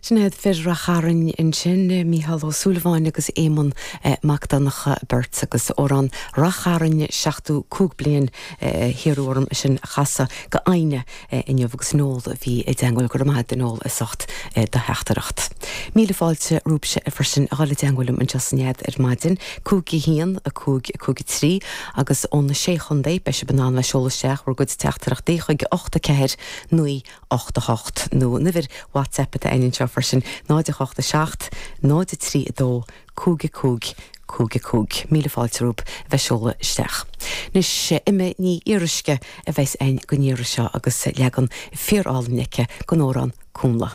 Sin iad fir Rath Chairn ansin, Mícheál Ó Súilleabháin agus Éamonn Mac Donncha beirt agus amhrán Rath Chairn 75 bliain hiarradh orm é sin a chasadh go Áine inniu agus Noel a bhí i dteangmháil. Go raibh maith agat a Noel as ucht do theachtaireacht. Míle fáilte romhaibhse freisin a dhul i dteangmháil liom anseo san Nead ar maidin, 5 1 5 5 3 agus ó na Sé Chontae beidh sibh in ann le seoladh isteach bhur gcuid teachtaireachtaí chuig 8 4 9 8 8, nó an uimhir WhatsApp atá againn anseo freisin, 0 8 7 0 3 2 5 5 5 5. Míle fáilte romhaibh a bheith seoladh isteach. Anois, Emma Ní Fhíoruisce a bheas againn don iarraidh seo agus leagan fíor-álainn aici den amhrán Cúnnla.